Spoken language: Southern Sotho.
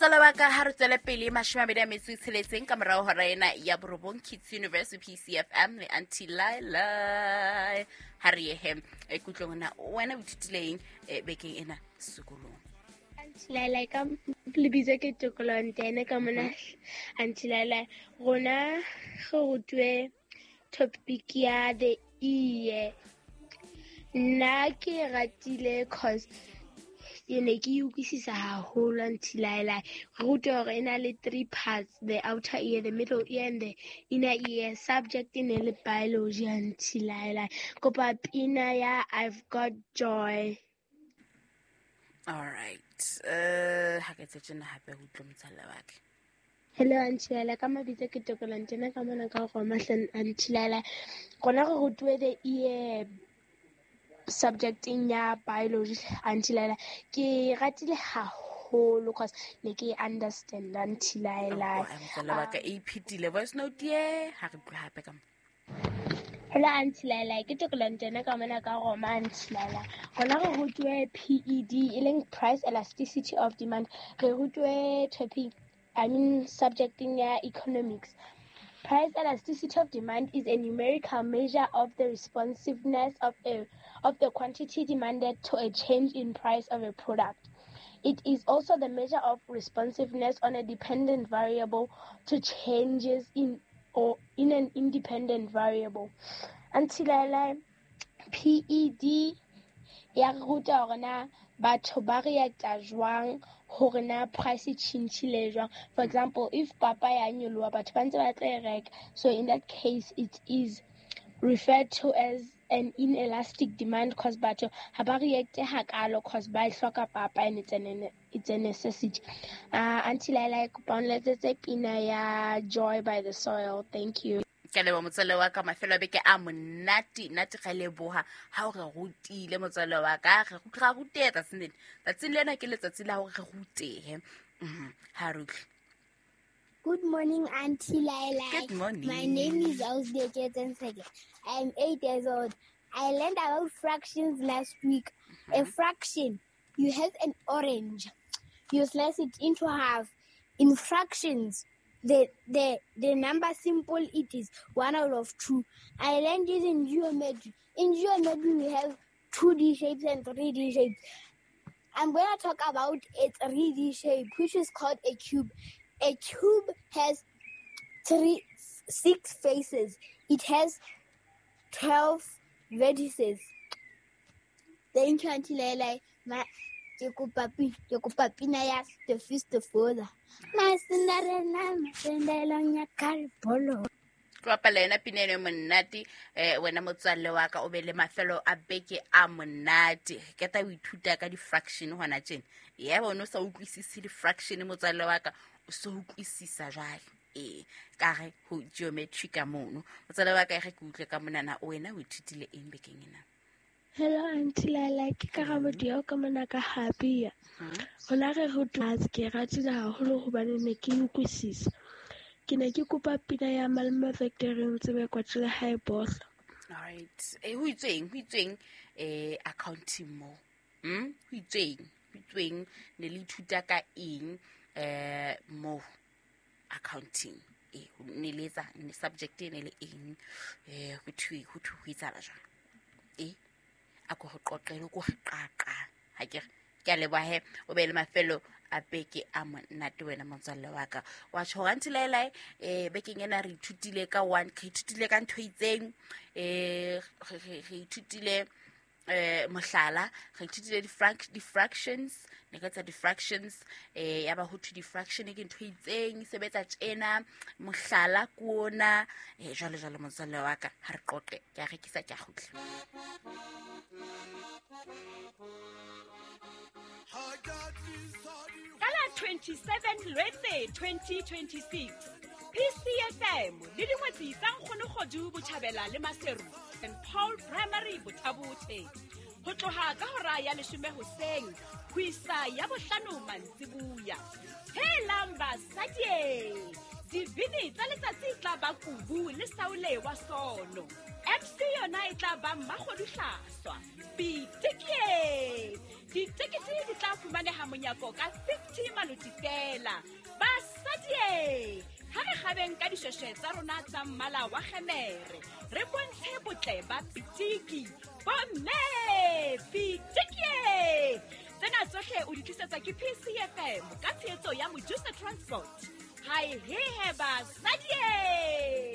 Motswala wa ka, ha re tswele pele, 26 ka morao hora ena ya 9, Kids Universe, PCFM le Auntie Laila. Ha re yehe e kutlong na wena o ithutileng bekeng ena sekolong? Auntie Laila, ka lebitso ke Tokolo Ntene ka mona. Auntie Laila, rona re rutwe topic ya the ear. Nna ke ratile cause ke ne ke e utlwisisa haholo. Auntie Laila, re rutwe hore e na le three parts: the outer ear, the middle ear and the inner ear. Subject e ne le biology. Auntie Laila, kopa pina ya I've Got Joy. All right, ha ke tse tjena hape ho utlwa motswalle wa ka. Hello Auntie Laila, ka mabitso ke Tokolo Ntena ka mona ka Roma. Auntie Laila, rona re rutuwe the ear subjecting ya biology. Auntie Laila, ke ratile haholo cause ne ke understand. Auntie Laila. Oh, motswalle wa ka e iphetile voice note ye, ha re utlwe hape ka mo. Hello Auntie Laila, ke Tokolo Ntena ka mona ka Roma. Auntie Laila, rona re rutuwe PED, e leng price elasticity of demand. Re rutuwe topic, I mean subjecting ya economics. Price elasticity of demand is a numerical measure of the responsiveness of the quantity demanded to a change in price of a product. It is also the measure of responsiveness on a dependent variable to changes in or in an independent variable. Auntie Laila, PED ya re ruta hore na batho ba reacta jwang hore na price e tjhentjhile jwang. For example, if papa ya nyoloha, batho ba ntse ba tlo e reka. So in that case it is referred to as an inelastic demand cause batho ha ba reacte hakalo cause ba e hloka papa and it's a necessity. Auntie Laila, kopa o nletsetse pina ya Joy by The Soil. Thank you. Ke a leboha, motswalle wa ka. Mafelo a beke a monate nate. Ga leboha ha o re rutile, motswalle wa ka. Re ra ruteha tsatsing lena. Tsatsing lena ke letsatsi la hore re rutehe. Ha re utlwe. Good morning, Auntie Laila. Good morning. My name is Ausde Ketenseke. I am 8 years old. I learned about fractions last week. A fraction, you have an orange. You slice it into half. In fractions, the number simple, it is 1 out of 2. I learned it in geometry. In geometry, we have 2D shapes and 3D shapes. I'm going to talk about a 3D shape, which is called a cube. A cube has 3 6 faces. It has 12 vertices. Thank you, Auntie Lele. Ma ke kopa pina ya The Fist of Father. Masinarena masendelong ya kalbolo. Ke bapala yona pina eno e monate. Wena motswalle wa ka, o be le mafelo a beke a monate. Ke ta o ithuta ka di-fraction hona tjena. Yebo, o ne o sa utlwisise di-fraction, motswalle wa ka, o so utlwisisa jwale ee ka re ho geometry ka mono. Motswalle wa ka, e re ke utlwe ka monana, wena o ithutile eng bekeng ena? Hello Auntie Laila, ke Karabo Diao ka mona ka Habia. Rona re rutwa, ke ratile haholo hobane ne ke utlwisisa. Ke ne ke kopa pina ya Malome Victory Ntsebe Kwatjele hae bohlo. Alright, ho itsweng, ho itsweng accounting mo? Ho itsweng, ho itsweng, ne le ithuta ka eng mo accounting? Ne le etsa ne subject e ne le eng? Ho thwe ho etsahala jwang? A ko re qoqele, ko re qaqa. Ha ke re ke a leboha he, o be le mafelo a beke a monate, wena motswalle wa ka. Wa tjho hore Auntie Laila, bekeng ena re ithutile ka one, re ithutile ka ntho e itseng, re ithutile mohlala, re ithutile di-fractions, ne ka tsa di-fractions, ya ba ho thwe di-fraction ke ntho e itseng e sebetsa tjena, mohlala ke ona, jwalo jwalo. Motswalle wa ka, ha re qoqe. Ke a rekisa, ke a kgutla. Ka la 27 Lwetse 2026, PCFM le dingwetsi tsa Nkgonokgodu Botjhabela le Maseru and Paul Primary Bothabothe, ho tloha ka hora ya 10 hoseng ho isa ya 5 mantsibuya. Helang basadie, dibini tsa letsatsi e tla ba Kubu le Saule wa Sono. MC yona e tla ba Mmakgodu Hlaswa Pitikie. Ditekete di tla fumaneha monyako ka 50 maloti fela. Basadie, ha re kgabeng ka dishweshwe tsa rona tsa mmala wa kgemere, re bontshe botle ba pitiki. Bomme, pitikie! Tsena tsohle o di tlisetswa ke PCFM ka tshehetso ya Mojusa Transport. Hae hehe basadie!